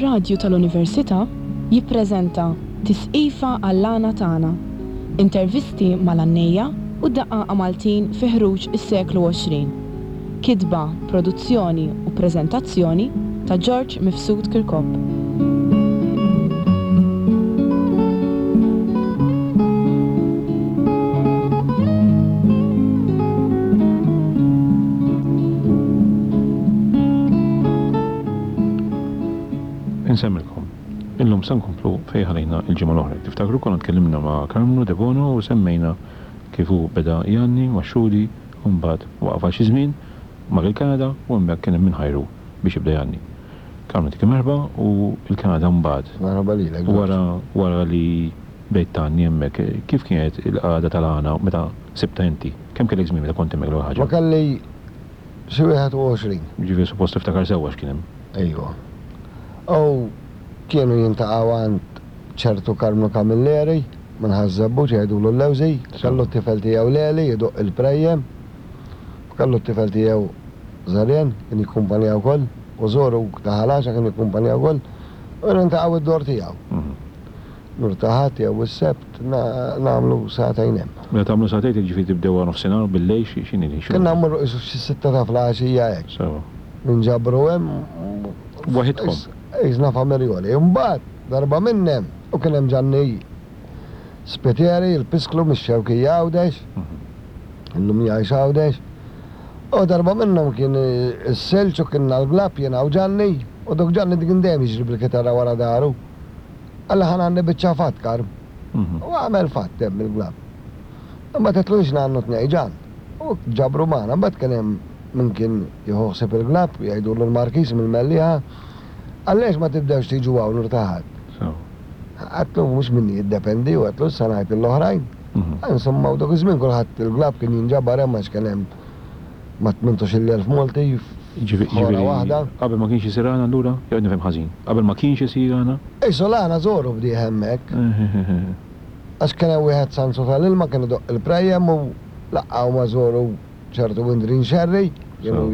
Ir-Radju tal-Università jippreżenta Tisqifa għall-Għana Tagħna, intervisti mal-għannejja u d-daqqaqa Maltin fi ħruġ is-seklu 20. Kitba, produzzjoni u preżentazzjoni ta' George Mifsud Kirkop. Insemmilkom. Illum se nkomplu fejn ħalejna l-ġimgħa l-oħra. Jekk tiftakru konna tkellimna ma' Karmnu Debono u semmejna kif hu beda jgħanni ma' Xudi u mbagħad waqaf għal xi żmien, mar il-Kanada u hemmhekk kien hemm min ħajru biex jibda jgħanni. Karmnu dik merħba u l-Kanada mbagħad. Merħba lilek George. Wara wara li bdejt tgħanni hemmhekk, kif kienet il-qagħda tal-għana meta sibtha inti? Kemm kellek żmien meta kont hemmhekk l-ewwel ħaġa? Ma kelli xi 21. Jiġifieri suppost tiftakar sewwa x'kien hemm. Ejwa. U kienu jintaqgħu għand ċertu Karmnu Camilleri minn Ħaż-Żebbuġ jgħidulu l-Lewżi, kellu t-tifel tiegħu Leli jdoqq il-prejjem, u kellu t-tifel tiegħu Żarien kien jikkumpanja wkoll, u żoru ta' Ħal Għaxaq kien jikkumpanja wkoll, u kienu jintaqgħu id-dor tiegħu. Nhar ta' Ħadd jew is-Sebt nagħmlu sagħtejn hemm. Meta tagħmlu sagħtejn jiġifieri tibdew wara nofsinhar bil-lejl x'inhi l-ħin? Kien nagħmlu qisu xi sitta ta' filgħaxija hekk. Sewa. Ninġabru hemm. Waħidkom? Qisna famirjoli. Imbagħad darba minn hemm u kien hemm Ġanni Spiteri, il-Pisklu mix-Xewkija Għawdex. Illum jgħix Għawdex. U darba minnhom kien is-silġ u kienna l-glab jiena u Ġanni u dok Ġanni kien dejjem jiġri bil-kitarra wara daru. Qalli ħa ngħanni biċċa fatt, Karm. U għamel fatt hemm il-glab. Imbagħad għedtlu jiex ngħannu tnejn ġan. U ġabru magħna. Imbagħad kien hemm min kien jieħu ħsieb il-glab, jgħidulu l-Markiż mill-Mellieħa. Qalli għaliex ma tibdewx tiġu hawn nhar ta' Ħadd? Għedtlu mhux minni jiddependi u għedtlu issa ngħid lill-oħrajn. Insomma u dak iż-żmien kulħadd il-glab kien jinġabar hemm għax kien hemm ma' 18,000 Malti f'ħora waħda. Qabel ma kienx isir għana allura? Jew qed nifhem ħażin? Qabel ma kienx isir għana? Qisu l-għana żoru bdieh hemmhekk. Għax kien hemm wieħed Sanzu tal-ilma kien idoqq il-prejjem u laqqgħu ma' żoru ċertu Windrin Scerri, kienu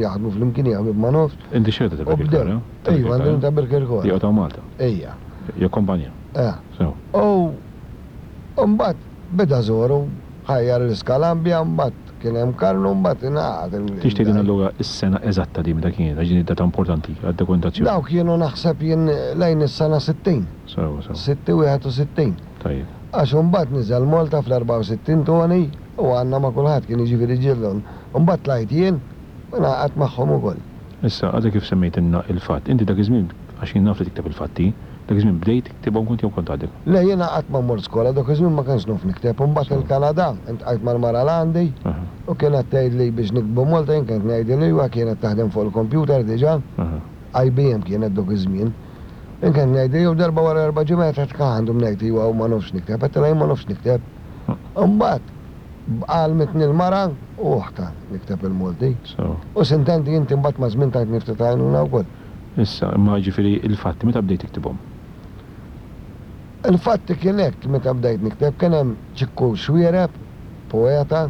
jaħdmu flimkien jew ħbieb ma nafx. Inti xerta ta' Birkirkara? Iva, Indrin ta' Birkirkara. Joqgħod hawn Malta? Ija. Jakkompanja? Eh. Sew. U mbagħad beda żoru ħajjar l-Iskalambja mbagħad Kien hemm Karlu mbagħad ingħaqad il. Tix tgħidilna allura s-sena eżatta din meta kienet għax din id-data importanti għad-dokumentazzjoni. Dawk kienu naħseb jien lejn is-sena 60. Sewwa sewwa. Sitti 61. Tajjeb. Għax imbagħad niżel Malta fl-64 Toni u għandna ma' kulħadd kien jiġifieri ġielhom. Imbagħad tlajt jien u ngħaqadt magħhom ukoll. Issa, għadek kif semmejtilna il-fatt, inti dak iż-żmien, għax jien naf li tikteb il-fatti, dak iż-żmien bdejt tiktibhom kont jew kont għadek? Le, jiena qatt ma mort skola, dak iż-żmien ma kontx naf nikteb. U mbagħad il-Kanada, iltqajt mal-mara l-għandi u kienet tgħidli biex niktbu Malta, jien kont ngħidilha iwa, kienet taħdem fuq il-kompjuter diġà, IBM kienet dak iż-żmien. Jien kont ngħidilha jew darba wara erba' ġimgħat għedt kah għandhom ngħid iwa u ma nafx nikteb, għedtilha jien ma nafx nikteb. Imbagħad Għallmitni l-mara u oħtha nikteb il-Malti. U sintendi inti mbagħad maż-żmien tajtni ftit għajnuna wkoll. Issa, imma jiġifieri l-fatti meta bdejt tiktibhom? Il-fatti kien hekk, meta bdejt nikteb kien hemm Ċikku Xuereb, poeta,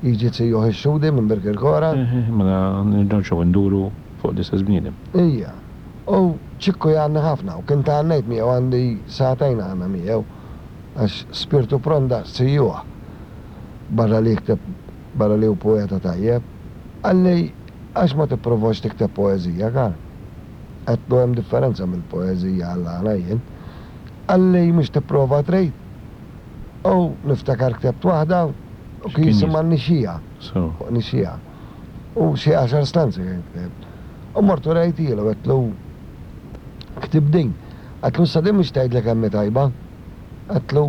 jiġi zijuh ix-Xhudi minn Birkirkora. Eħe, mela nerġgħu nduru fuq l-istess bniedem. Ija. U Ċikku jgħanni ħafna u kien tgħannejt miegħu għandi sagħtejn għana miegħu. Għax spirtu pront daqs zijuh, barra li jikteb, barra li hu poeta tajjeb, qalli għax ma tipprovax tikteb poeżija, Karl? Għedtlu hemm differenza mill-poeżija għall-għana jien. Qalli mhux tipprova trid? U niftakar ktebt waħda u kien jisimha Nixxiegħa, fuq nixxiegħa. U xi għaxar stanzi kien ktibt. U mort u rejtielu, għedtlu ktibt din. Għedtlu issa din mhux tgħidli kemm hi tajba. Għedtlu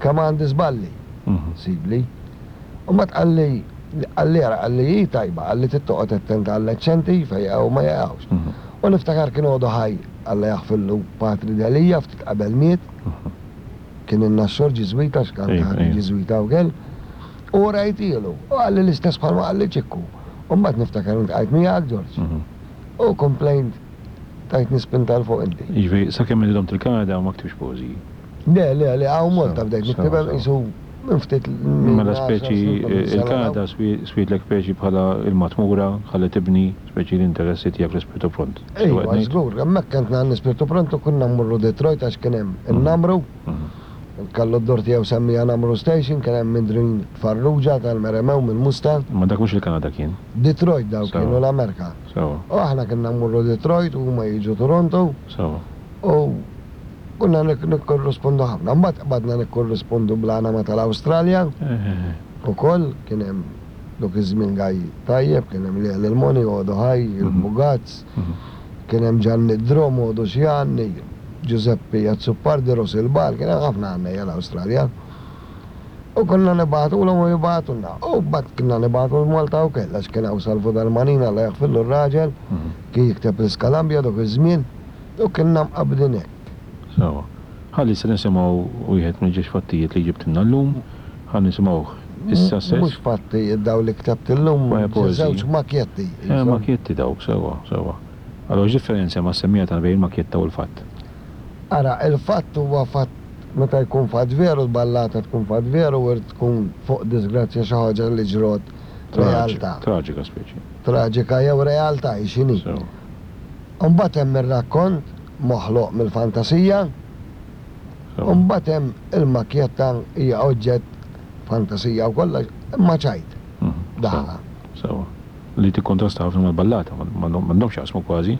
kemm għandi żballi, sibli. U mbagħad qalli, qalli ara, qalli hi tajba, qalli trid toqgħod attent għall-eċċenti fejn jaqgħu u ma jaqgħux. U niftakar kien għodu ħaj, Alla jaħfirlu, Patri Delia ftit qabel miet. Kien in-Naxxor Ġiżwita għax kien ħadd Ġiżwita wkoll. U rajtielu, u qalli l-istess bħalma qalli Ċikku. U mbagħad niftakar iltqajt miegħek, Ġorġ. U komplejnt Tajtni spinta 'l fuq inti. Jiġifieri sakemm inti domt il-Kanada ma ktibx poeżiji? Le, le, le, hawn Malta bdejt niktibhom qisu. Minn ftit minn Mela għaxar speċi snin, 12 sena 'l hawn. il-Kanada swietlek speċi bħala il-matmura ħalli tibni speċi l-interessi tiegħek fl-Ispirtu Pront. Sewwa qed Iva, ngħid? żgur, hemmhekk kont ngħanni Spirtu Pront u konna mmorru Detroit għax kien hemm in-Namru. Kellu d-dur tiegħu semmieha Namru Station, kien hemm Indrin Farrugia tal-Meremew mill-Musta. Imma dak mhux il-Kanada kien. Detroit dawk Sewwa. kienu l-Amerka. Sewwa. U aħna kinna mmorru Detroit u huma jiġu Toronto. Sewwa. U konna nikkorrispondu ħafna. Mbagħad qbadna nikkorrispondu bl-għana ma' tal-Awstralja. Ukoll kien hemm dak iż-żmien gaj tajjeb, kien hemm Lea Lilmoni, għodu ħaj, il-Bugazz. Kien hemm Ġanni Drom, għodu x'jgħanni, Ġużeppi Azzopardi, Ros il-Bar, kien hemm ħafna għannejja l-Awstralja. U konna nibagħtulhom u jibagħtulna. U mbagħad konna nibagħtu l-Malta wkoll għax kien hawn Salvu Darmanin, Alla jaħfirlu r-raġel, kien jikteb l-Iskalambja dak iż-żmien u kienna mqabbdin hekk. Sewwa. Ħalli issa nisimgħu wieħed mill-ġiex fattijiet li ġibtilna llum. Ħa nisimgħuh issa stess. Mhux fattijiet dawn li ktabt illum, żewġ makjetti qishom. Makjetti dawk, sewwa, sewwa. Allura x'differenza hemm għas-semmiegħa tagħna bejn il-makjetta u l-fatt? Ara, il-fatt huwa fatt meta jkun fatt veru, l-ballata tkun fatt veru u tkun fuq disgrazzja xi ħaġa li ġrot realtà. Traġika speċi. Traġika jew realtà hi x'inhi. Sewwa. U mbagħad hemm ir-rakkont moħloq mill-fantasija. Sewwa. U mbagħad hemm il-makjetta hija oġġett fantasija wkoll imma ċajt. Daħqa. Sewwa. Li tikkontrasta ħafna mal-ballata, m'għandhomx x'jaqsmu kważi.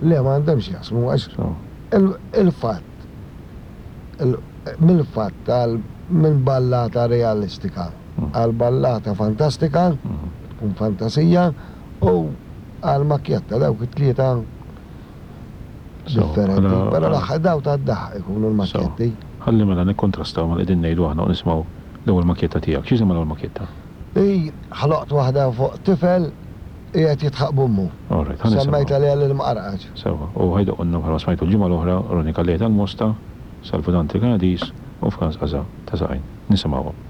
Le, ma għandhomx x'jaqsmu għax il-fatt, mill-fatt għal minn ballata realistika għal ballata fantastika, tkun fantasija, u għal makjetta dawk it-tlieta differenti. Però l-aħħar daw tad-daħq ikunu l-makjetti. Ħalli mela nikkontrastaw ma' li qegħdin ngħidu aħna u nisimgħu l-ewwel makjetta tiegħek. X'jisimha l-ewwel makjetta? Hi, ħloqt waħda fuq tifel qiegħed jidħaq b'ommu. All right, ħa nisimgħu. Semmejtha Lea l-Imqarqaċ. Sewwa, u ħa jdoqqulna bħalma smajtu l-ġimgħa l-oħra Ronnie Calleja tal-Mosta, Salvu Dante l-Kanadiż u Frans Casa ta' Saqajn. Nisimgħuhom.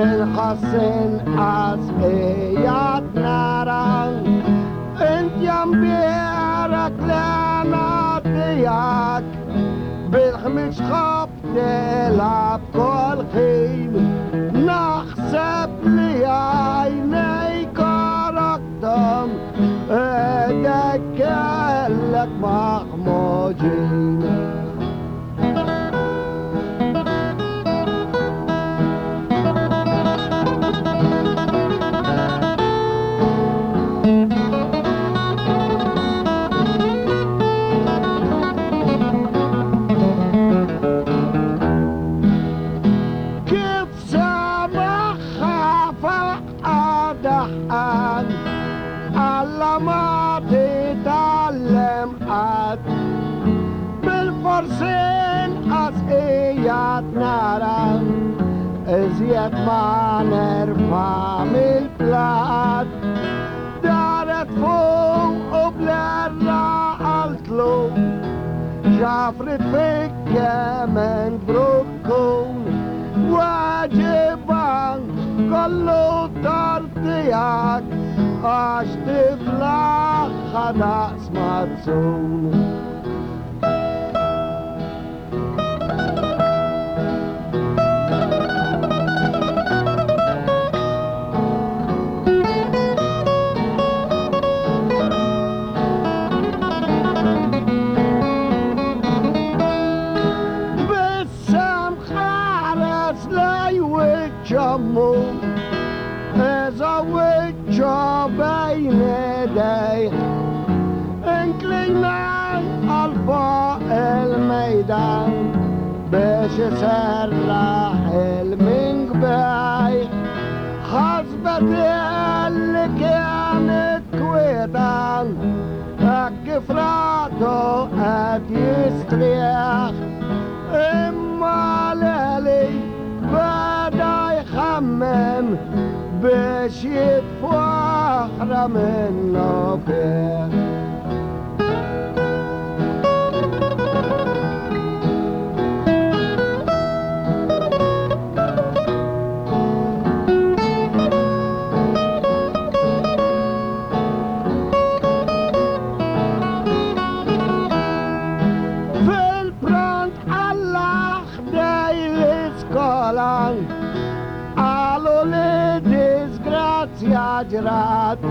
Inħoss inqas qiegħed nara. Int ja mbierek l-hena tiegħek bil-ħmieġ tħobb tilgħab kull ħin. Naħseb li għajnejk għorokthom idejk kellek maħmuġin. Kif semaħħa faqqa daħqan, Alla ma titgħallem qatt. Bilfors inqas qiegħed nara, iżjed ma nerfa' mill-platt. Daret fuqu bl-għerra qaltlu, X'għafrit fik kemm int brukkun. Weġibha, Kollu tort tiegħek għax tiflaħha daqs mazzun. Bissem ħares lej wiċċ ommu, Eża wiċċu bejn idejh. Inklina għal fuq il-mejda biex iserraħ il-minkbejh. Ħasbet illi kienet kwieta hekk kif ratu qed jistrieħ. Imma Leli beda jħammem biex jitfu oħra minnu fih. Fil-pront alla ħdej l-iskola qalu li disgrazzja ġrat.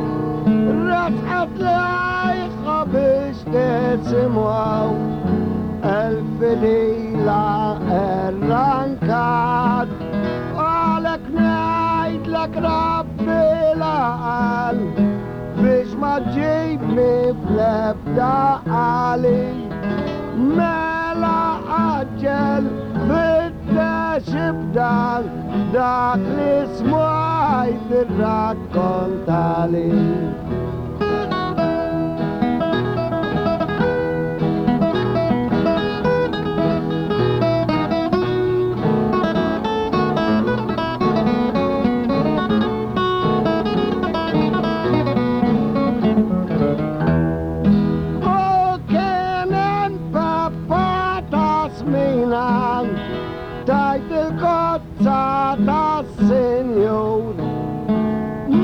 Resqet lejha biex tisimgħu il-fidila rrankat. Għalhekk ngħidlek rabbi l-għaqal biex ma ġġibni fl-ebda għali. Mela għaġġel fittex ibdal dak li smajt irrakkontali. U kien hemm Peppa ta' Smina tajt il-kozza tas-Sinjur.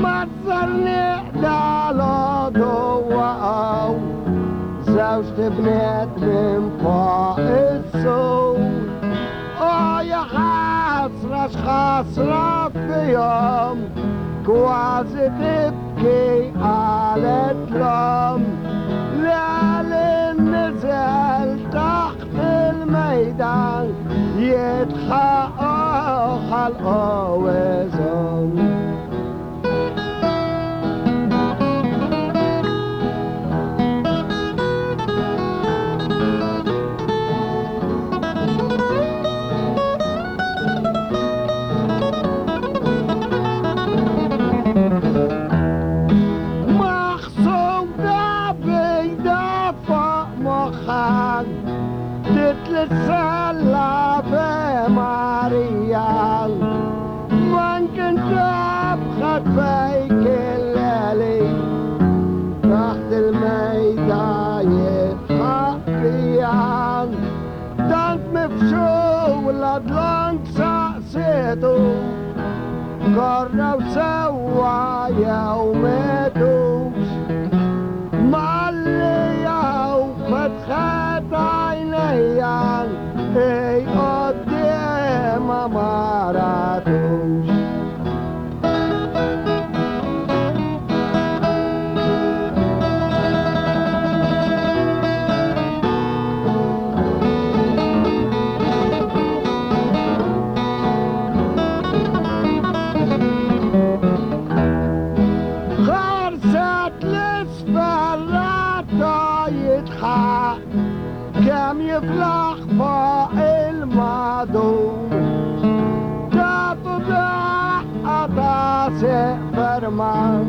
Maż-żerniq dalgħodu waqgħu żewġt ibniet minn fuq is-sur. O ja ħasra x'ħasra fihom, kważi tibki qalet l-omm. Leli niżel taħt il-mejda jidħaq ħalqu iżomm. Maħsuda bejda fuq moħħa titlissella Marija. Man kien tabħat fejk il-leli taħt il-mejda jitħaq fija. Tant mifxul dlonk saqsitu Korrew sewwa jew mietux. Malli hawn fetħet għajnejja hi quddiemha ma ratux. Ħarset l-isfel ratha jidħaq kemm jiflaħ fuq il-madum. Tatu daqqa ta' sieq ferman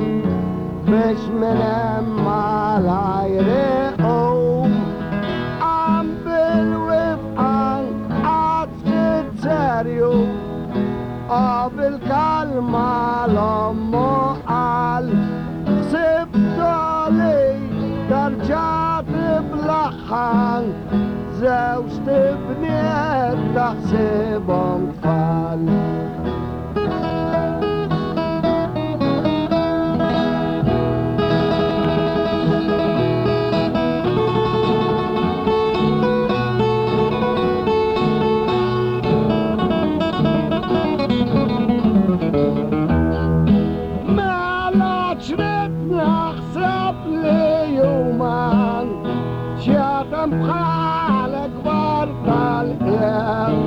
biex minn hemm malajr iqum. Qam bil-wifqan qagħad ftit serju u bil-kalma l-ommu qal, Ħsibtu li terġa' tiblaħħa żewġt ibniet taħsibhom tfal. Mela x'rid naħseb li huma xjaten bħal kbar tal-qiegħ.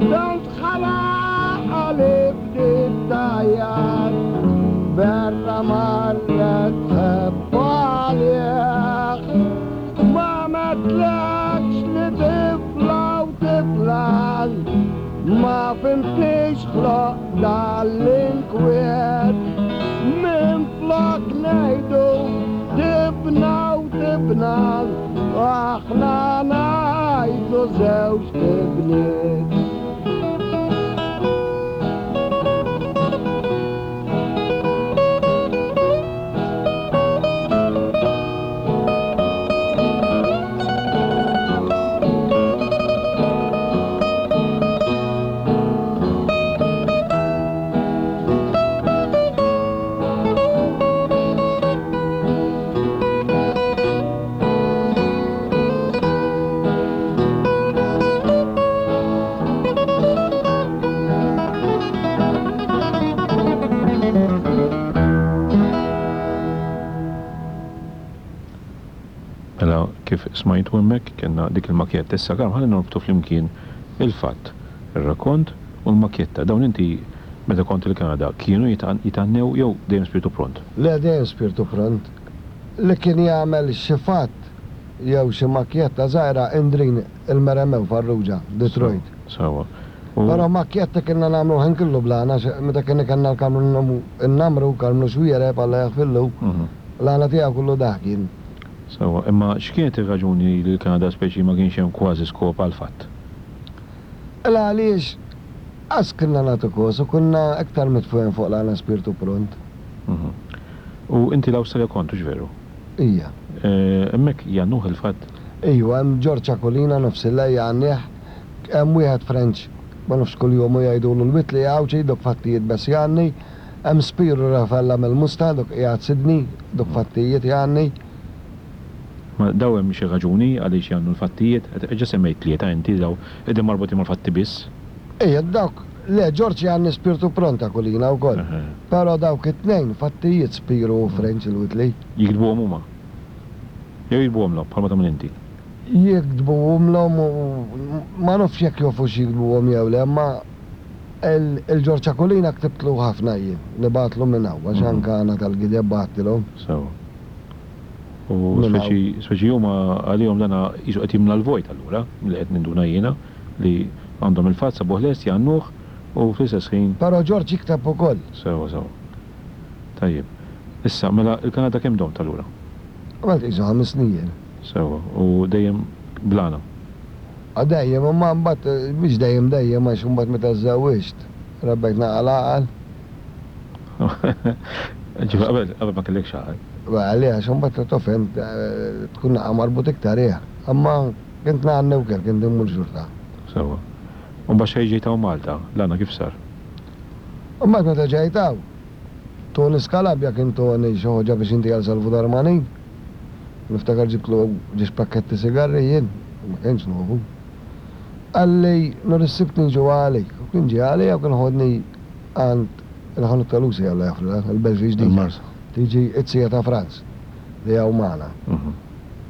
Tant ħalaq li bdiet tgħajjat berra marret tħebb għalih. Ma għedtlekx li tifla u tifla ma fhimtnix ħloq dal-inkwiet. Minflok ngħidu tibna u tibna aħna ngħidu żewġt ibniet. Mela kif smajtu hemmhekk kellna dik il-makjetta. Issa Karm ħalli norbtu flimkien il-fatt, ir-rakkont u l-makjetta. Dawn inti meta kont il-Kanada kienu jitgħannew jew dejjem spirtu pront? Le dejjem spirtu pront. Li kien jagħmel xi fatt jew xi makjetta żgħira Indrin il-Meremew Farrugia, Detroit. Sewwa. U. Però makjetta kienna nagħmlu l-ħin kollu bl-għana għax meta kien ikelna l-Karmnu Nnamru, Karmnu Xuereb, Alla jaħfirlu, l-għana tiegħu kollu dak kien. Sewwa, imma x'kienet ir-raġuni li l-Kanada speċi ma kienx hemm kważi skop għall-fatt? Il għaliex qas kienna nagħtu kos u konna iktar mitfugħin fuq l-għana spirtu pront. U inti l-Awstralja kont, hux veru? Ija. Hemmhekk jgħannuh il-fatt? Ijwa, hemm Ġorġ Aquilina nofs il-lejl jgħannih, hemm wieħed French ma nafx kuljomu jgħidulu l-Whitley Għawdxi dok fattijiet bess jgħanni, hemm Spiru Rafella mill-Musta dok qiegħed Sydney dok fattijiet jgħanni. Ma daw hemm xi raġuni għaliex jgħannu l-fattijiet? Ġa semmejt tlieta inti daw qegħdin marbutin mal-fatti biss. Ija dawk, le Ġorġ jgħanni Spirtu Pront Aquilina wkoll, però dawk it-tnejn fattijiet Spiru u French il-Whitley. Jiktbuhom huma? Jew jiktbuhomlhom bħalma tagħmel inti? Jiktbuhomlhom u ma nafx jekk jofux jiktbuhom jew le, imma il-Ġorġ Aquilina ktibtlu ħafna jien, nibgħatlu minn hawn għax anke għana tal-gideb bgħattilhom. Sewwa. U speċi speċi huma għalihom dana qisu qed jimla l-vojt allura, milli qed ninduna jiena, li għandhom il-fatt sabuh lest jgħannuh u fl-istess ħin. Però Ġorġ jikteb ukoll. Sewwa sewwa. Tajjeb. Issa, mela il-Kanada kemm domt allura? Għamilt qisu ħames snin jien. Sewwa, u dejjem bl-għana? Ah dejjem, imma mbagħad mhix dejjem dejjem għax imbagħad meta żżewwiġt rabbejt naqa' l-għaqal. Ġifieri qabel qabel ma kellekx għaqal. Le għax imbagħad taf int tkun naqa' marbut iktar ih. Imma kont ngħanni wkoll, kont immur xorta. Sewwa. U mbagħad xejn ġejt hawn Malta, l-għana kif sar? U mbagħad meta ġejt hawn, Tony Scalabia kien toni xi ħoġa biex inti għal Salvu Darmanin. Niftakar ġibtlu ġiex pakketti sigarri jien, ma kienx novu. Qalli nhar is-Sibt niġu għalik. U kien ġie għalija u kien ħodni għand il-ħanut ta' Lucy Alla jaħfrilha, il-Belt il-Ġdida. Il-Marsa. Tiġi it-sija ta' Franz li hawn magħna.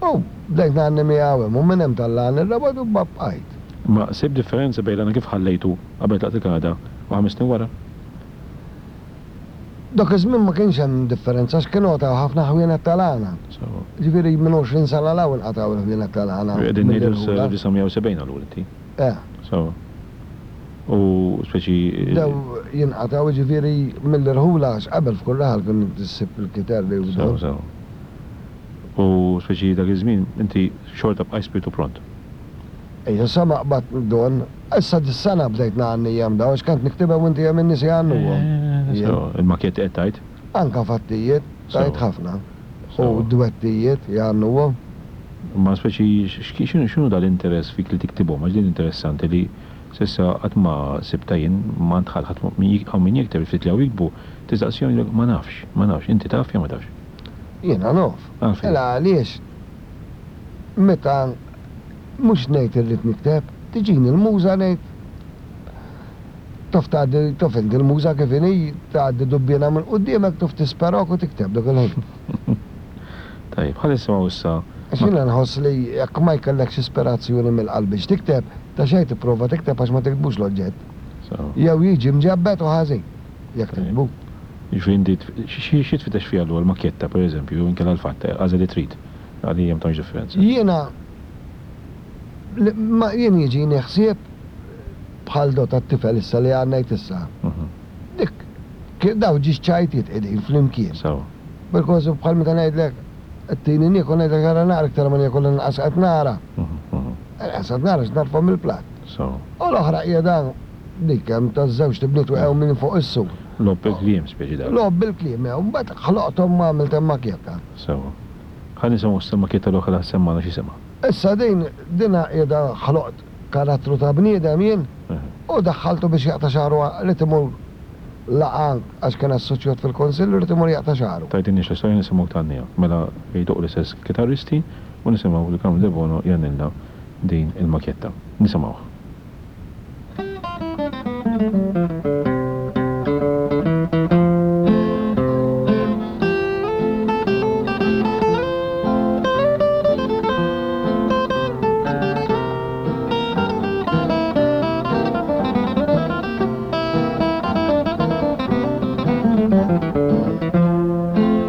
U bdejt ngħanni miegħu hemm u minn hemm tallagħni r-Rabat u bqajt. Imma sibt differenza bejn l-għana kif ħallejtu qabel tlaqt il-Kanada u 5 snin wara? Dak iż-żmien ma kienx hemm differenza għax kienu qatgħu ħafna ħwienet tal-għana. Sewwa. Jiġifieri minn 20 sena 'l hawn inqatgħu l-ħwienet tal-għana Qegħdin ngħidu mill-irħula. s-1970 allura inti. Eh. Sewwa. U speċi. Bdew jinqatgħu jiġifieri mill-irħula għax qabel f'kull raħal kien issib il-kiterri u Sewwa dawn. sewwa. U speċi dak iż-żmien inti xorta bqajt spirtu pront. Ejja sa ma qbadt don. Issa dis-sena bdejt ngħanni hemm dawn għax kont niktibhom u inti hemm in-nies jgħannuhom. Jien. Sewa, il-makjetti qed tgħid? Anka fattijiet, tgħid ħafna. U dwettijiet jgħannuhom. Imma speċi x'inhu x'inhu dal-interess fik li tiktibhom għax din interessanti li s'issa qatt ma sibtha jien m'għand ħadd ħadd hawn min jikteb il-ftit li hawn jiktbu tistaqsihom jgħidulek ma nafx, ma nafx, inti taf jew ma tafx? Jiena naf. Għalfejn? Mela għaliex meta Mhux ngħid irrid nikteb, tiġini l-muża ngħid tof tgħaddi, tof inti l-muża kif inhi, tgħaddi dubbiena minn quddiemek tof tisperok u tikteb dak il-ħin. Tajjeb, ħa nisimgħu issa. Għax jiena nħoss li jekk ma jkellekx ispirazzjoni mill-qalb biex tikteb, ta' xejn tipprova tikteb għax ma tiktbux l-oġġett. Jew jiġi mġebbed u ħażin jekk tiktbu. Jiġifieri inti xi tfittex fiha allura l-makkjetta pereżempju jew inkella l-fatt, agħżel li trid, għalija ma tagħmilx differenza. Jiena Ma jien jiġini ħsieb bħal do tat-tifel issa li għannejt issa. Dik daw ġiex ċajtiet qegħdin flimkien. Sewwa. Bil-kważi bħal meta ngħidlek qed tini niekol ngħidlek ara naqra iktar ma niekol inqas qed nara. Inqas qed nara għax narfa' mill-platt. Sewwa. U l-oħra qiegħda dik hemm taż-żewġt ibniet weqgħu minn fuq is-sur. Logħob bil-kliem speċi dak. Logħob bil-kliem, eh, u mbagħad ħloqthom u għamilt hemm makjetta. Sewwa. Ħa nisimgħu issa l-makjetta l-oħra li semmgħana x'jisimha. Issa din, din qiegħda ħloqt karattru ta' bniedem jien u daħħaltu biex jaqta' xagħru ried imur laqgħa għax kien assoċjat fil-Kunsill u ried imur jaqta' xagħru. Tgħidilniex l-istorja nisimgħuk tgħanniha. Mela jdoqqu l-istess kitarristi u nisimgħu lil Carmel Debono jgħannilna din il-makjetta. Nisimgħuh.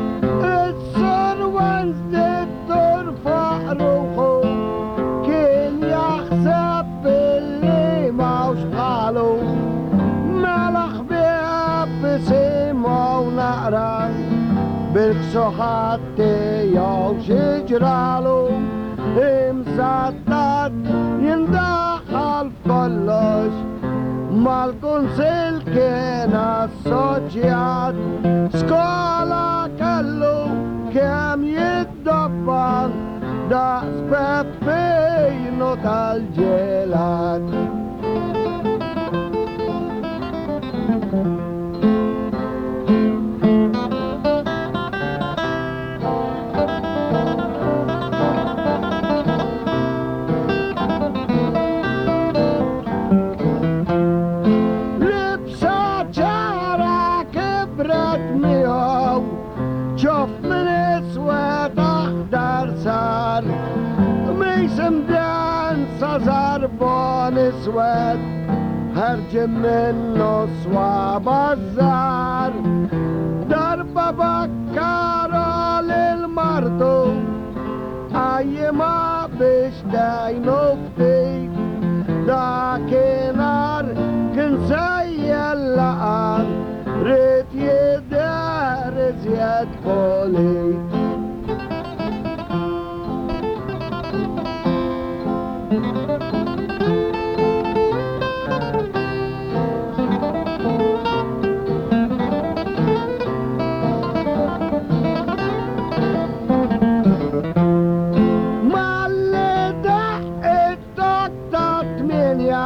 Is-Sur Wednesday Turfaq ruħu kien jaħseb billi m'hawnx bħalu. Mela ħbieb isimgħu naqra bil-ksuħat tiegħu xi ġralu. Imsattat jindaħal f'kollox mal-kunsill kien assoċjat. Skola kellu kemm jiddobba daqs Peppino tal-ġelat. Libsa ċara kibret miegħu, ċoff minn iswed aħdar sar, qmis imdensa żarbon iswed, ħerġin minnu swaba' żgħar. Darba bakkara lil martu, qajjimha biex tgħinu ftit. Dakinhar kien sejjer laqgħa, ried jidher iżjed pulit. Malli daqq it-tok tat-tmienja,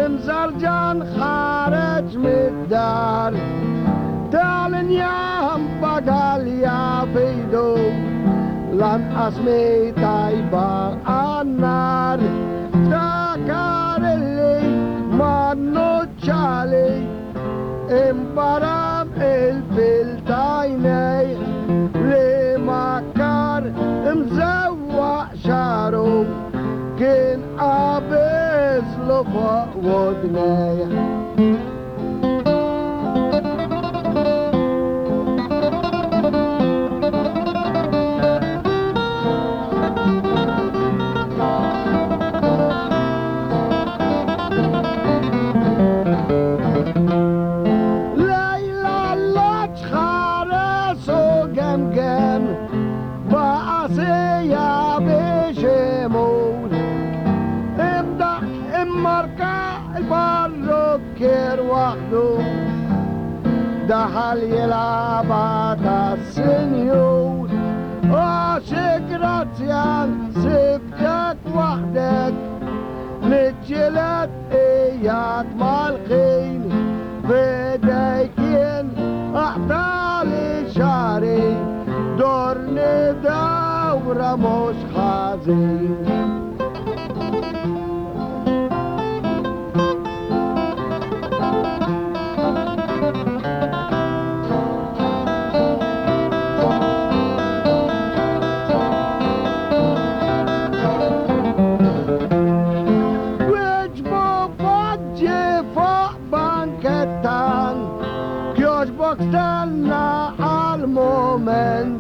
imżarġan ħareġ mid-dar. Lanqas mi tajba għan-nar. Ftakar illi man-nuċċali imbaram il-fil t'għajnejh li makkar imżewwaq xagħru kien qabiżlu fuq wudnejh. Lejla l-loġġ ħares u gemgem, baqa' siegħa biex imur. Imdaqq immarka l-parrukkier waħdu, daħal jilgħabha tas-sinjur. Għax grazzjan sibtek waħdek, niġġieled qiegħed mal-ħin. F'idejk jien aqtagħli xagħri, dorni dawra mhux ħażin. Wieġbu poġġi fuq banketta, kjoġbok stenna għal mument.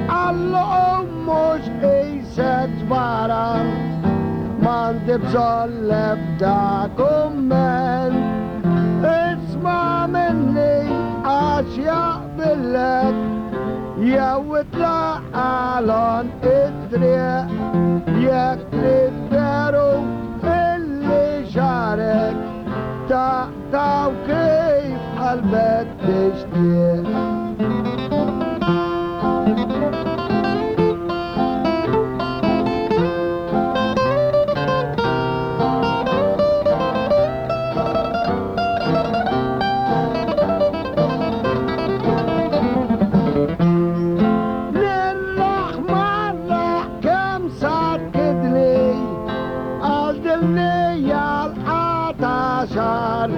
Qallu qum mhux qisek tbaran, m'għandi bżonn l-ebda kumment. Isma' minni għax jaqbillek, jew itlaq għal għonq it-triq, jekk trid veru illi xagħrek taqtgħu kif qalbek tixtieq. Nirraħ marraħ kemm sakkidni għal dilnija l-qata xar.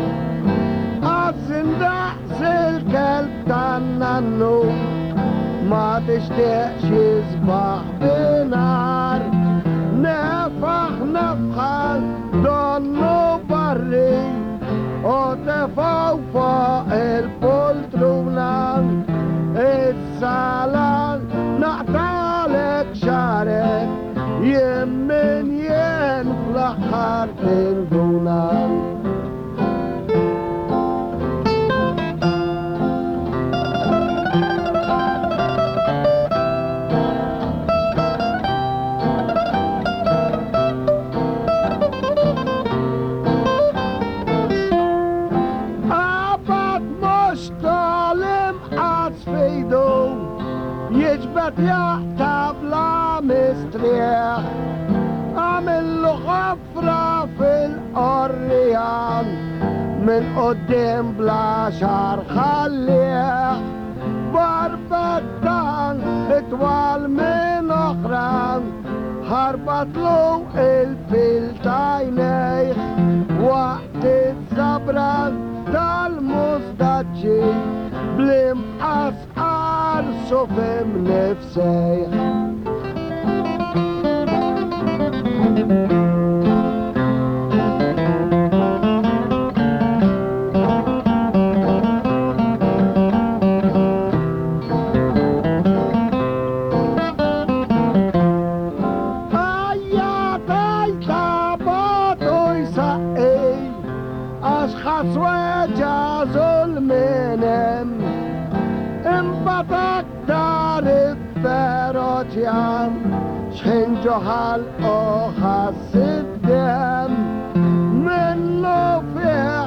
Għażin daqs il-kelb tan-nannu ma tixtieqx jisbaħ binar. Nefaħ nefħa donnu barri u tefgħu fuq il-poltruna. Issa la naqtagħlek xagħrek jien min jien fl-aħħar tinduna. Qabad mhux tal-imqas f'idu, jiġbed jaqta' bla mistrieħ. Għamillu ħofra fil-qorrijan, minn quddiem bla xagħar ħallih. Barbettan itwal minn oħra, ħarbatlu il-fil t'għajnejh. Waqt iż-żabra tal-mustaċċi, bl-imqas qarsu f'imnifsejh. Għajjat għajta bagħtu jsaqqi, għax ħass weġgħa żul minn hemm. Imbagħad aktar ifferoċjan, x'ħin ġo ħalqu ħass id-demm. Minnu fih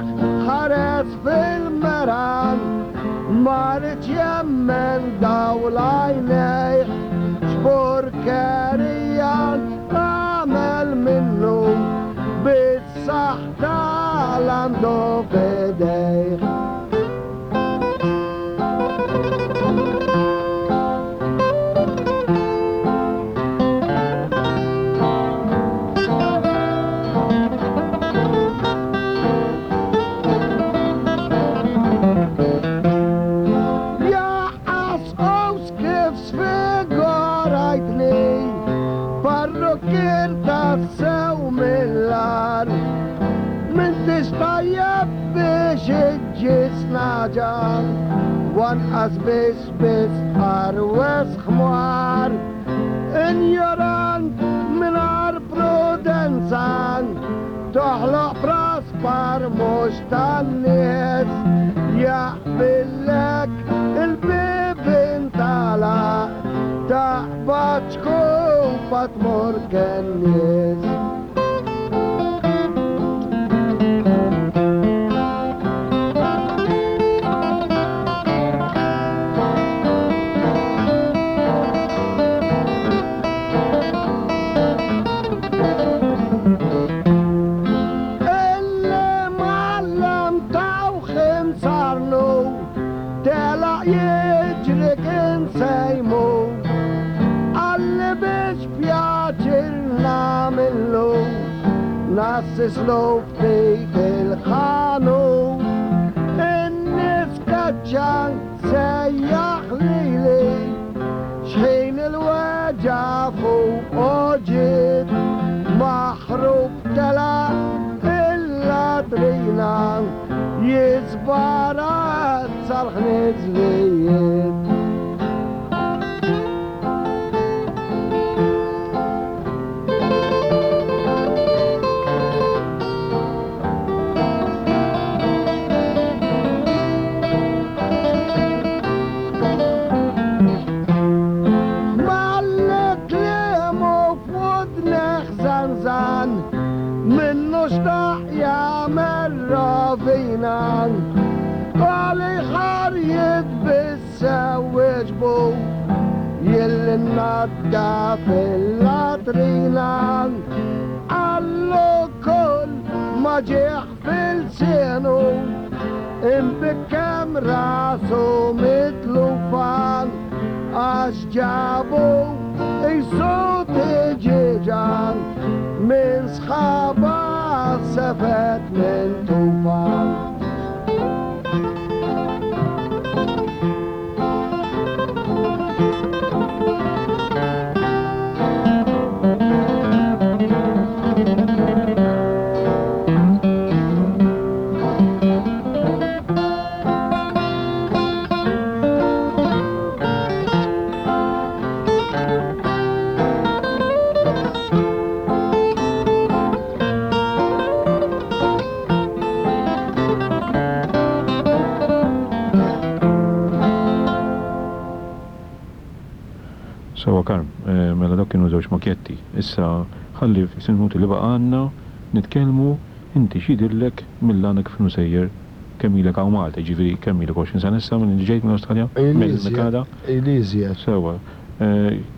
ħares fil-meran, ma riedx jemmen dawl għajnejh. X'purkerija għamel minnu, bis-saħħa tal-għandu f'idejh. anqas biss biss tqarweż ħmar. Injorant mingħajr prudenza toħloq praspar mhux tan-nies. Jaqbillek il-bibien tagħlaq taqbad xkupa tmur kennies. Il-mgħallem tawh imsarlu telaq jiġri kien se jmur. Qalli biex pjaċir nagħmillu nassislu ftit il-ħanut. In-nies kaċċa sejjaħ lili x'ħin il-weġgħa fuqu ġiet. Maħrub telaq il-latrina jisbarazza l-ħniżrijiet. Malli kliemu f'widnejh żanżan, minnu xtaq jagħmel rovina. Għalih ħarjiet biss Se wieġbu jilli naddaf il-latrina. Qallu kull ma ġieħ f'ilsienu imbikkem rasu mitlufa għax ġabu qisu tiġieġa minn sħaba sefet minn tufa. Sewwa Karm, mela dawk kienu żewġ makjetti. Issa ħalli fis minuti li baqa' għandna nitkellmu inti x'jidhirlek mill-għana kif inhu sejjer kemm ilek hawn Malta, jiġifieri kemm ilek 20 sena issa minn li ġejt mill-Awstralja? Mill-Kanada? Ili iżjed. Sewwa.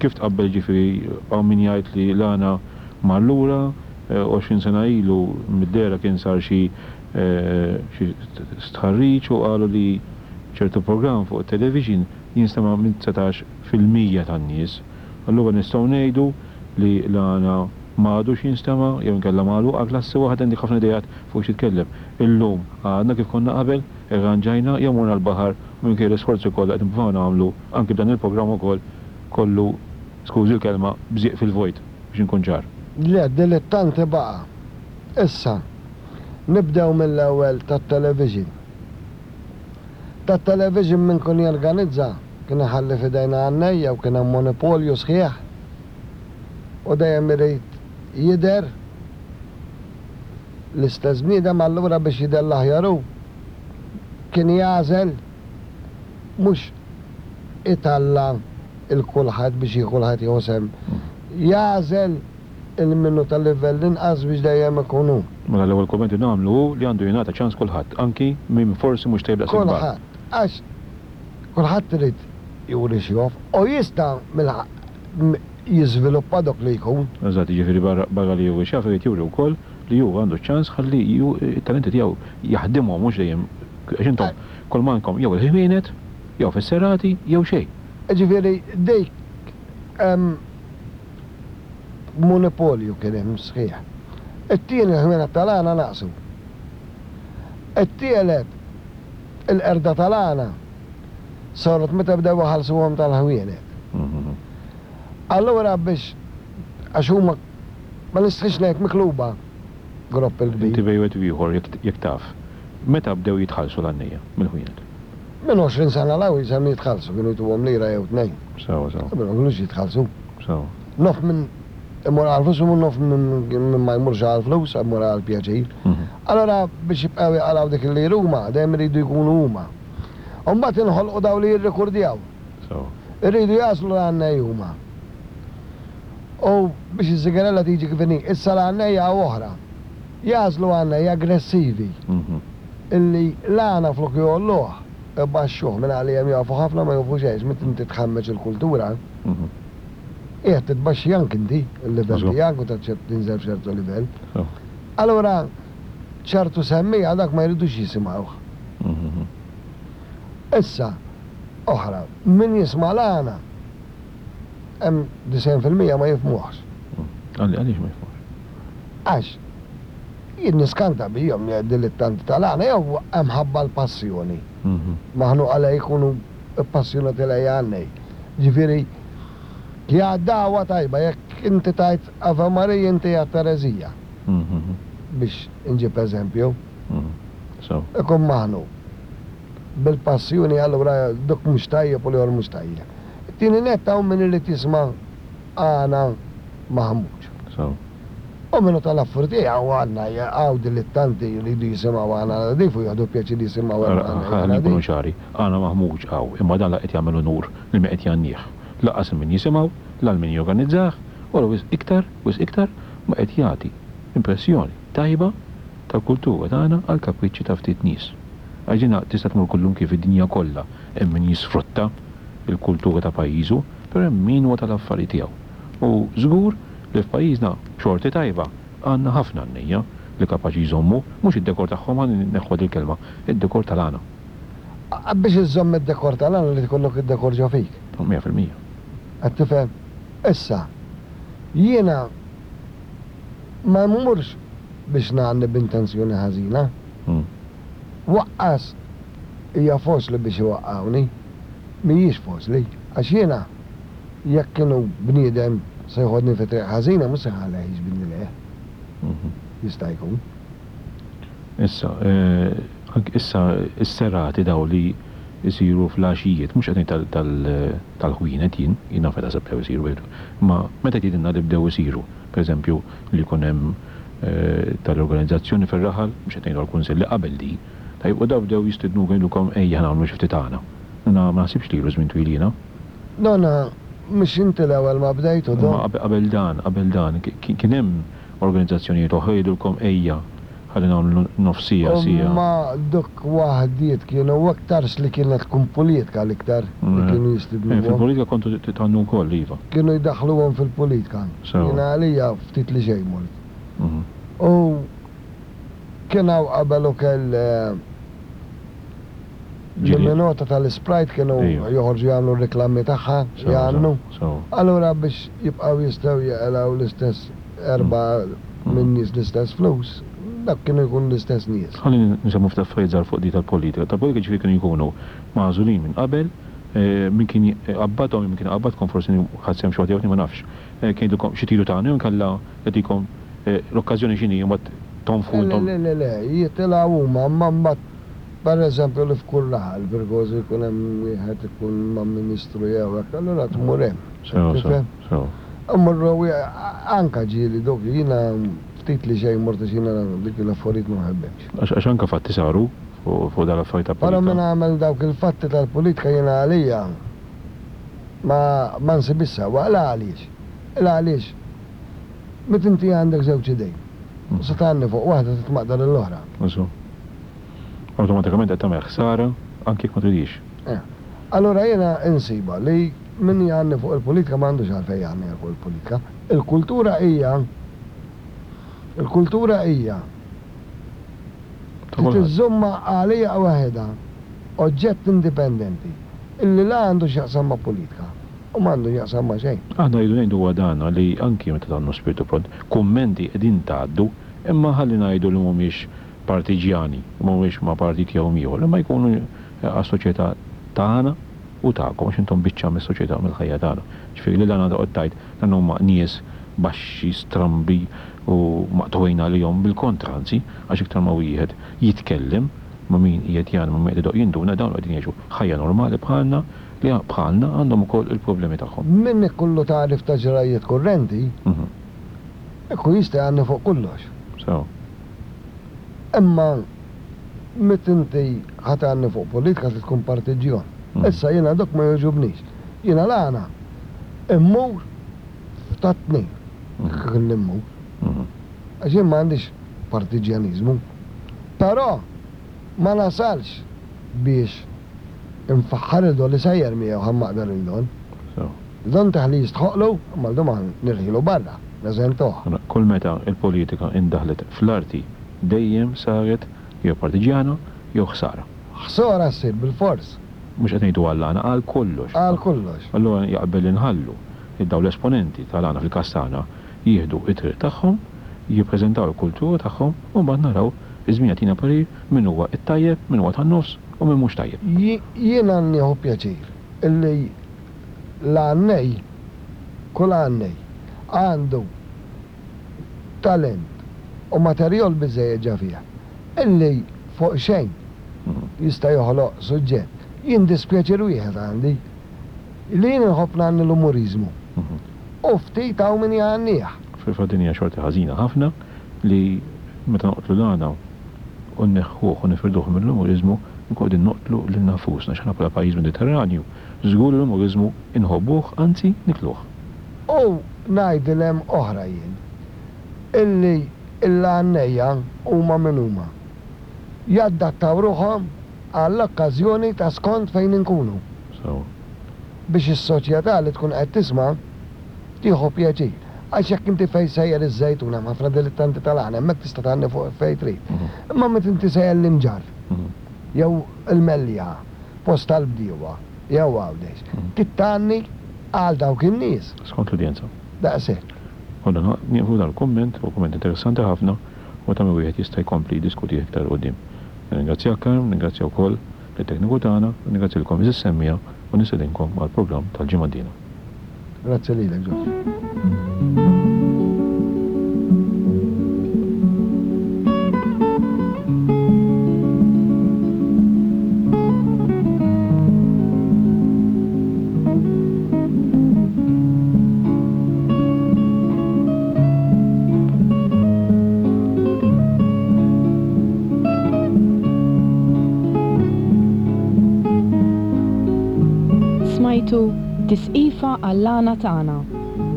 Kif tqabbel jiġifieri hawn min jgħid li l-għana mar lura, 20 sena ilu mid-dehra kien sar xi xi stħarriġ u qalu li ċertu programm fuq it-television jinstema' minn 19% tan-nies. Allura nistgħu ngħidu li l-għana ma għadux jinstema' jew inkella magħluq għal klassi waħda għandek ħafna ideat fuq x'titkellem. Illum għadna kif konna qabel, irranġajna jew morna l-baħar u minkejja l-isforzi kollha qed nippruvaw nagħmlu anki b'dan il-programm ukoll kollu, skużi l-kelma, bżieq fil-vojt. Biex inkun ċar. Le, dilettanti baqa'. Issa, nibdew mill-ewwel tat-television. Tat-television min kien jorganizza kien iħalli f'idejna għannejja u kien hemm monopolju sħiħ u dejjem irid jidher l-istess bniedem allura biex jidher l-aħjar hu kien jagħżel mhux italla' 'l kulħadd biex jieħu kulħadd jieħu sehem. Jagħżel 'il min hu ta' livell inqas biex dejjem ikun hu. Mela l-ewwel kumment li nagħmlu hu li għandu jingħata ċans kulħadd, anki min forsi mhux tajjeb daqs il-kbar. Kulħadd, għax kulħadd irid juri x'jof u jista' jiżviluppa dok li jkun. Eżatt, jiġifieri barra li juri x'jaf irid juri wkoll li hu għandu ċ-ċans ħalli t-talenti tiegħu jaħdimhom mhux dejjem għax intom kull m'għandkom jew il-ħwienet jew fis-serati jew xejn. Jiġifieri dik hemm monopolju kien hemm sħiħ. It-tieni l-ħwienet tal-għana naqsu. It-tielet il-qerda tal-għana saret meta bdew iħallsuhom tal-ħwienet. Allura biex għax huma ma nistħix ngħid mikluba gropp il-kbir. Inti bejn wieħed u ieħor jekk taf, meta bdew jitħallsu l-għannejja mill-ħwienet? Minn 20 sena 'l hawn jisimhom jitħallsu, kienu jtuhom lira jew tnejn. Sewwa, sewwa. Qabel ma kinux jitħallsu. Sewwa. Nof min imur għall-flus u nof min ma jmurx għall-flus, imur għall-pjaċir. Allura biex jibqgħu jaqalgħu dik il-lira huma, dejjem iridu jkunu huma. U mbagħad inħolqu dawn li jirrikurdjaw. Sewwa. Iridu jagħżlu l-għannej huma. U biex iż-żigarella tiġi kif inhi, issa l-għannejja hawn oħra. Jagħżlu għannejja aggressivi. Illi l-għana flok jgħolluh, ibaxxuh minn għalihom jafu ħafna ma jafu xejn, meta inti tħammeġ il-kultura, qiegħed titbaxxi anki inti l-livell tiegħek u tinżel f'ċertu livell. Allura ċertu semmiegħa dak ma jridux jisimgħuh. Issa, oħra, min jisma' l-għana hemm 90% ma jifhmuhx. Għaliex ma jifhmuhx? Għax jien niskanta bihom li dilettanti tal-għana jew hemm ħabba l-passjoni. Maħnuqa lej jkunu ppassjonati lej għannej. Ġifieri hija dagħwa tajba jekk inti tgħid Ave Maria inti għedt ereżija. Biex inġib eżempju. Ikun maħnuq bil-passjoni allura dak mhux tajjeb u l-ieħor mhux tajjeb. It-tieni nett hawn min irid jisma' għana maħmuġ. U min hu tal-affarijiet hawn għandna hawn dilittanti jridu jisimgħu għana nadif u jieħdu pjaċir jisimgħu għana nadif. Ħalli nkunu ċari, għana maħmuġ hawn, imma dan la qed jagħmel unur lil min qed jgħannih, lanqas lil min jisimgħu, la lil min jorganizzah, u la wisq iktar, wisq iktar, ma qed jagħti impressjoni tajba tal-kultura tagħna għall-kapriċċi ta' ftit nies. Għax dina tista' tmur kullumkien fid-dinja kollha, hemm min jisfrutta l-kultura ta' pajjiżu, però hemm min huwa tal-affari tiegħu. U żgur li f'pajjiżna, b'xorti tajba, għandna ħafna għannejja li kapaċi jżommu, mhux id-dekor tagħhom, ħa nneħħu dil-kelma, id-dekor tal-għana. Biex iżżomm id-dekor tal-għana irid ikollok id-dekor ġo fik. 100%. Qed tifhem? Issa, jiena ma mmurx biex ngħanni b'intenzjoni ħażina. Waqqas hija faċli biex iwaqqgħuni. Mhijiex faċli, għax jiena jekk inhu bniedem se jħodni fi triq ħażina mhux se nħallih jiġbidni lejh. Jista' jkun. Issa, anki issa s-serati dawn li jsiru fl-għaxijiet, mhux qed ngħid tal-ħwienet jien, jien naf meta se bdew isiru, imma meta tgħidilna li bdew isiru, pereżempju li jkun hemm tal-organizzazzjoni fir-raħal, mhux qed ngħidu għall-kunsill li qabel di, tajjeb, u dawn bdew jistidnukom jgħidulkom ejja ħa nagħmlu xi ftit għana. Ma naħsibx li ilu żmien twil jiena. Donna, mhux inti l-ewwel ma bdejt u Imma qabel dan, qabel dan, kien hemm organizzazzjonijiet oħra jgħidulkom ejja ħalli nagħmlu nofs siegħa, siegħa. Imma dawk waħdiet kienu aktarx li kienet tkun politika l-iktar li kienu jistidnuhom. Fil-politika kontu tgħannu wkoll, iva. Kienu jdaħħluhom fil-politika. Jiena għalija ftit li xejn mort. U kien hawn qabel ukoll L-minota tal-Isprite kienu joħorġu jagħmlu r-riklami tagħha, jgħannu. Allura biex jibqgħu jistgħu jeqilgħu l-istess erbgħa min-nies l-istess flus, dak kienu jkunu l-istess nies. Ħalli nsemmu ftit affarijiet żgħar fuq di tal-politika. Tal-politika ġifieri kienu jkunu magħżulin minn qabel, min kien iqabbadhom jew min kien iqabbadkom forsi ħadt sehem xi waħda jew tnejn ma nafx. Kien jgħidilkom xi tridu tagħmlu jew inkella jagħtikom l-okkażjoni x'inhi u mbagħad tonfħu intom. Le, le, le, jitilgħu huma imma mbagħad Per eżempju li f'kull raħal Virgożu jkun hemm wieħed ikun ma' ministru jew hekk, allura tmur hemm. Sewa, sewa, sewa. Immorru anka ġieli dok jiena ftit li xejn mort għax jiena dik l-affarijiet ma nħobbhomx. Għax anka fatti saru fuq dawn l-affarijiet ta' politika. Però min għamel dawk il-fatti tal-politika jiena għalija ma ma nsibhiex sewwa. Il għaliex? Il għaliex meta inti għandek żewġ idejn u se tgħanni fuq waħda titmaqdar lill-oħra. Awtomatikament qed tagħmel ħsara anki jekk ma tridhiex. Eh. Allura jiena insibha li min jgħanni fuq il-politika ma għandux għalfejn jgħanni fuq il-politika. Il-kultura hija il-kultura hija li tiżżommha għaliha waħedha oġġett indipendenti illi la għandu x'jaqsam ma' politika u ma għandu x'jaqsam ma' xejn. Aħna rridu ngħidu huwa dan li anki meta tgħannu spirtu pront, kummenti qegħdin tgħaddu imma ħalli ngħidu li mhumiex partiġġjani, mhumiex ma' partit jew ieħor, imma jkunu għas-soċjetà tagħna u tagħkom għax intom biċċa mis-soċjetà u mill-ħajja tagħna. Ġifieri lil għandna toqgħod tgħid dan huma nies baxxi, strambi u maqtugħin għalihom, bil-kontra anzi, għax iktar ma wieħed jitkellem. ma' min qiegħed jgħanni, ma' min qed idoqq jinduna dawn qegħdin jgħixu ħajja normali bħalna li bħalna għandhom ukoll il-problemi tagħhom. Min ikollu tagħrif ta' ġrajjiet kurrenti, ikun jista' jgħanni fuq kollox. Sew. Imma meta inti ħa tgħanni fuq politika trid tkun partiġġjon. Issa jiena dok ma jogħġobnix. Jiena l-għana immur f'tat-tnejn kif immur. Għax jien ma għandix partiġġjaniżmu. Però ma nasalx biex infaħħar 'il Don li sejjer miegħu ħa mmaqdar 'il Don. Il Don tah li jistħoqqlu imma 'l Don ma nirħilu barra, neżentuh. Mela kull meta l-politika indaħlet fl-arti dejjem saret jew partiġġjana jew ħsara. Ħsara ssir bilfors. Mhux qed ngħidu għall-għana, għal kollox. Għal kollox. Allura jaqbel li nħallu lil dawn l-esponenti tal-għana fil-każ tagħna jieħdu t-triq tagħhom, jippreżentaw il-kultura tagħhom u mbagħad naraw, iż-żmien jagħtina parir min huwa t-tajjeb, min huwa tan-nofs u min mhux tajjeb. Jiena nieħu pjaċir illi l-għannej, kull għannej, għandu talent u materjol biżżejjed ġa fih illi fuq xejn jista' joħloq suġġett. Jien dispjaċir wieħed għandi, li jien inħobb ngħanni l-umuriżmu u ftit hawn min jgħannih. Fil-fatt din hija xorti ħażina ħafna li meta noqtlu l-għana u nneħħuh u nifirduh mill-umuriżmu nkunu qegħdin noqtlu lilna nfusna għax aħna bħala pajjiż Mediterranju żgur li l-umuriżmu inħobbuh anzi nikluh. U ngħidilhem oħra jien, illi l-għannejja huma min huma. Jadattaw ruħhom għall-okkażjoni ta' skont fejn inkunu. Sewwa. Biex is-soċjetà li tkun qed tisma' tieħu pjaċir. Għax jekk inti fejn sejjer iż-Żejtun hemm ħafna dilittanti tal-għana, hemmhekk tista' tgħanni fuq fejn trid. Imma meta inti sejjer l-Imġarr jew il-Mellieħa, post tal-bdiewa, jew Għawdex, trid tgħanni għal dawk in-nies. Skont l-udjenza. Daqshekk. Konna nieqfu dal-kumment, huwa kumment interessanti ħafna u ta' min wieħed jista' jkompli jiddiskutih iktar 'il quddiem. Nirringrazzjak Carm, nirringrazzja wkoll lit-tekniku tagħna, u nirringrazzja lilkom għeżież semmiegħa u nistedinkom għall-programm tal-ġimgħa d-dieħla. Grazzi lilek George. Smajtu Tisqifa għall-Għana Tagħna,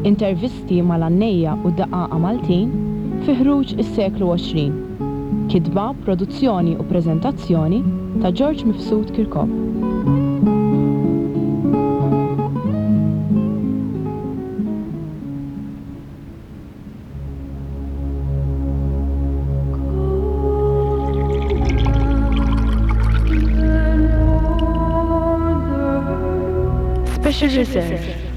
intervisti mal-għannejja u d-daqqaqa Maltin fi ħruġ is-seklu 20. Kitba, produzzjoni u preżentazzjoni ta' George Mifsud Kirkop. Special Reserve.